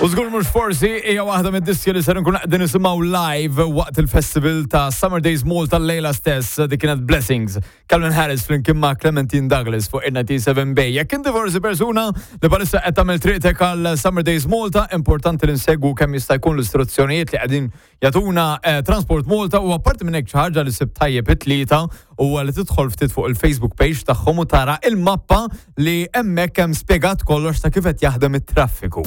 U żgur mhux forsi hija waħda mid-diski li ser nkun qegħdin nisimgħu live waqt il-festival ta' Summer Days Malta l-lejla stess dik kienet Blessings. Calvin Harris flimkien ma' Clementine Douglas fuq in-97 Bay. Jekk inti forsi persuna li bħalissa qed tagħmel triqtek għal Summer Days Malta, importanti li nsegwu kemm jista' jkun l-istruzzjonijiet li qegħdin jagħtuna eh, Transport Malta u apparti minn hekk xi ħaġa li sib tajjeb it-tlieta huwa li tidħol ftit fuq il-Facebook page tagħhom u tara il-mappa li hemmhekk hemm spjegat kollox ta' kif qed jaħdem it-traffiku.